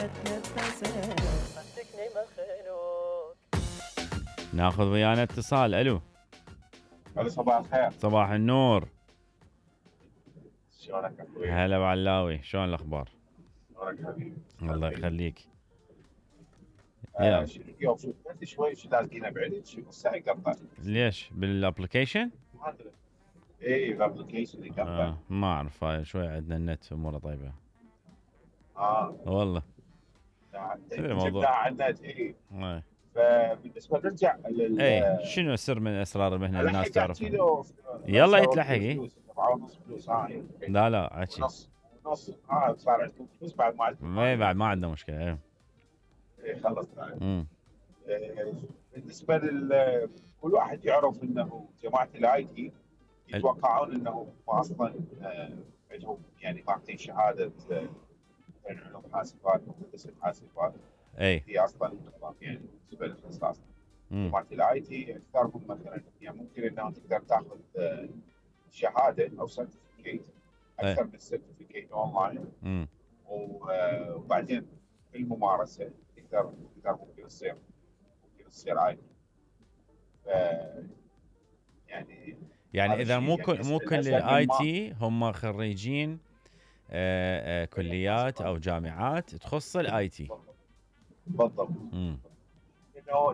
اتنفسه صدقني مخلوق. ناخذ ويانا اتصال. الو صباح الخير. صباح النور. شلونك اخوي؟ هلا بعلاوي، شلون الاخبار؟ شلونك حبيبي؟ الله يخليك. اليوم شوف انت شوي شو لازقينه بعيد شو الساعه يقطع. ليش بالابلكيشن؟ ما ادري. اي الابلكيشن يقطع. ما اعرف، هاي شوي عندنا النت اموره طيبه. والله الموضوع على النت. اي اي فبالنسبه نرجع اي شنو السر من اسرار المهنه الناس تعرف؟ يلا يتلحق. 4.5 فلوس هاي. لا عشي نص صار عندكم فلوس بعد ما عندكم. اي بعد ما عندنا مشكله. اي خلص. بالنسبه كل واحد يعرف انه جماعه الاي تي يتوقعون انه هم اصلا عندهم يعني ماخذين شهاده علوم حاسبات وهندسه حاسبات. اي هي اصلا يعني بالنسبه للاختصاص جماعه الاي تي اكثرهم مثلا يعني ممكن انه تقدر تاخذ شهاده او سيرتيفيكيت اكثر من سيرتيفيكيت اونلاين. وبعدين في الممارسه تقدر ممكن تصير اي تي. يعني اذا مو كل الاي تي هم خريجين كليات او جامعات تخص الاي تي. بالضبط.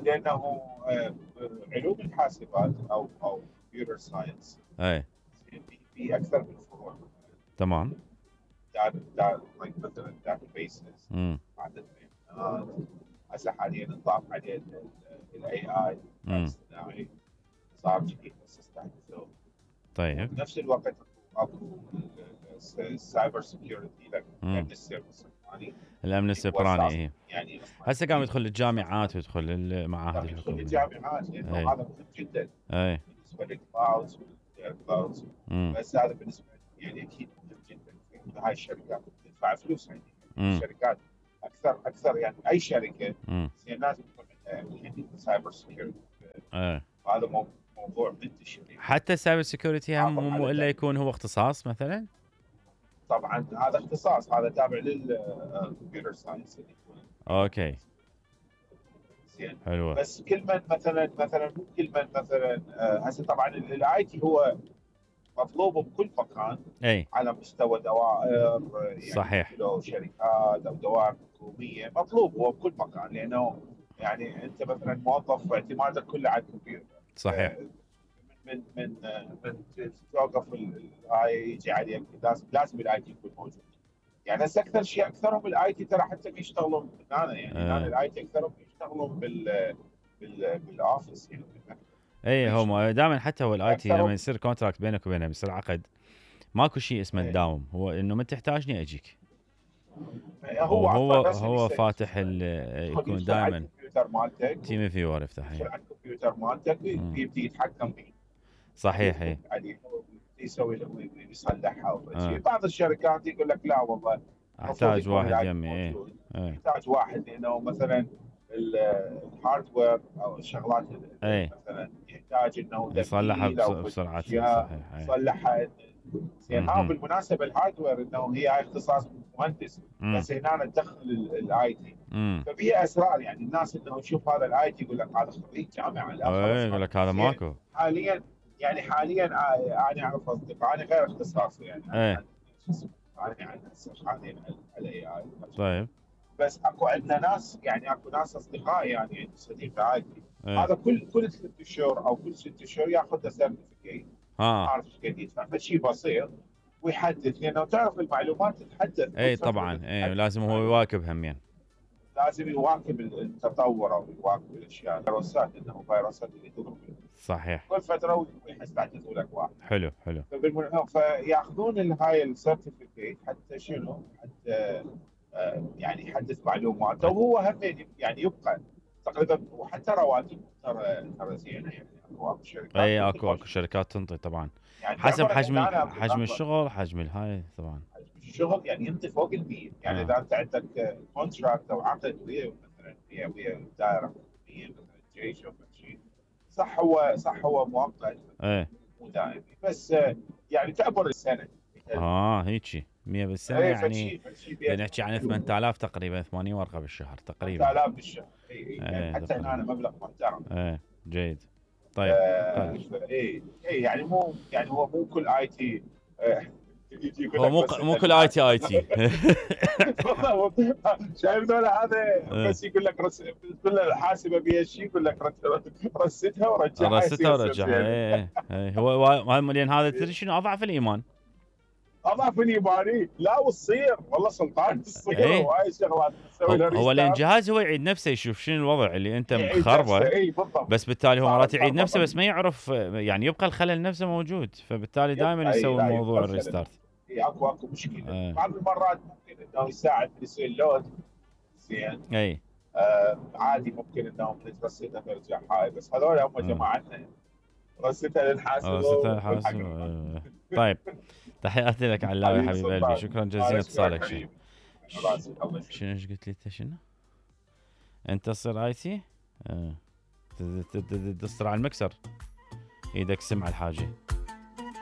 لانه علوم الحاسبات او كمبيوتر ساينس اي في اكثر من فروع. تمام. مثلا داتا بيسز عدد بيانات. هسه حاليا نضاف عليه الاي اي الاصطناعي صار جديد بس استحدثوه. طيب بنفس الوقت اكو السايبر سكيورتي الامن السيبراني. يعني هسه قام يدخل الجامعات ويدخل المعاهد الحكوميه. الجامعات لانه هذا مهم جدا. اي بالنسبه للكلاودز والكلاودز. بس هذا بالنسبه يعني اكيد مهم جدا في هاي الشركات تدفع فلوس يعني. الشركات اكثر يعني اي شركه لازم يكون عندها يعني سايبر سكيورتي. هذا موضوع منتشر. حتى السايبر سكيورتي هم مو الا يكون هو اختصاص مثلا. طبعا هذا اختصاص، هذا تابع للكمبيوتر ساينس. اوكي زين حلوه. بس كل من مثلا مو كل من مثلا هسه طبعا الاي تي هو مطلوب بكل مكان. اي على مستوى دوائر يعني صحيح. لو شركات او دوائر حكوميه مطلوب هو بكل مكان لانه يعني انت مثلا موظف اعتمادك كله على الكمبيوتر. صحيح. من توقف الاي يجي عليك لازم الاي تي يكون موجود. يعني هسه اكثرهم الاي تي ترى حتى بيشتغلون يعني الاي تي اكثرهم بيشتغلون بالاوفيس يعني. اي هم دائما حتى هو الاي تي لما يصير كونتراكت بينك وبينه بيصير عقد ماكو شيء اسمه الداوم. هو انه من تحتاجني اجيك. هو فاتح يكون دائما الكمبيوتر مالتك تيم فيور يفتح على الكمبيوتر مالتك يبدي يتحكم فيه. صحيح. يسوي يصلحها. بعض الشركات يقول لك لا والله احتاج واحد يمي. يحتاج واحد لانه مثلا الهاردوير او الشغلات مثلا يحتاج انه يصلحها بسرعه. صحيح. يصلحها زين. بالمناسبه الهاردوير انه هي اختصاص مهندس بس هنا تدخل الاي تي. ففي اسرار يعني الناس انه تشوف هذا الاي تي يقول لك هذا خريج جامعه. لا يقول لك هذا ماكو. حاليا انا اعرف اصدقاء انا غير اختصاصي يعني. انا حاليا الاي اي. طيب بس اكو ناس اصدقاء يعني صديق اي تي. هذا كل 3 شهور او كل 6 شهور ياخذ له سيرتيفيكيت. عارف ايش قد يدفع فشيء بسيط ويحدث لانه تعرف المعلومات تتحدث. اي طبعا. لازم هو يواكب همين. لازم يواكب التطور او يواكب الاشياء. فيروسات انه فيروسات اللي تضرب صحيح كل فتره ويحدثوا لك واحد. حلو. فياخذون هاي السيرتيفيكيت حتى شنو؟ حتى يعني يحدث معلوماته وهو هم يعني يبقى تقريبا. وحتى رواتب ترى زينه يعني. اكو شركات اكو شركات تنطي طبعا يعني حسب حجم الشغل حجم الهاي طبعا. الشغل يعني ينطي فوق ال100 يعني. اذا انت عندك كونتراكت او عقد ويا مثلا ويا دائره حكوميه مثلا جيش او شيء صح هو مؤقت مو دائمي بس يعني تعبر السنه. هيجي 100 بالسنه اي يعني فشي نحكي عن 8000 تقريبا 80 ورقه بالشهر تقريبا 8000 بالشهر. اي يعني حتى هنا مبلغ محترم. جيد. طيب اي يعني مو يعني هو مو كل اي تي هو مو كل اي تي شايف ذولا هذا بس يقول لك تقول له الحاسبه بها شيء يقول لك رستها ورجعها. هو لان هذا تدري شنو اضعف الايمان. اضعف الايماني لا وتصير والله سلطان تصير وهاي شغلات تسوي له هو لان الجهاز هو يعيد نفسه يشوف شنو الوضع اللي انت مخربه. بس بالتالي هو مرات يعيد نفسه بس ما يعرف يعني يبقى الخلل نفسه موجود فبالتالي دائما يسوي موضوع الريستارت. اكو مشكله. بعض المرات ممكن انه يساعد في يصير لود زين. اي عادي ممكن انهم نترسلها ترجع هاي بس هذول هم جماعتنا رستها للحاسب. طيب تحياتي لك علاوي حبيب قلبي شكرا جزيلا اتصالك. شنو ايش قلت لي انت شنو؟ انت تصير اي تي؟ تصير على المكسر ايدك سمع الحاجه.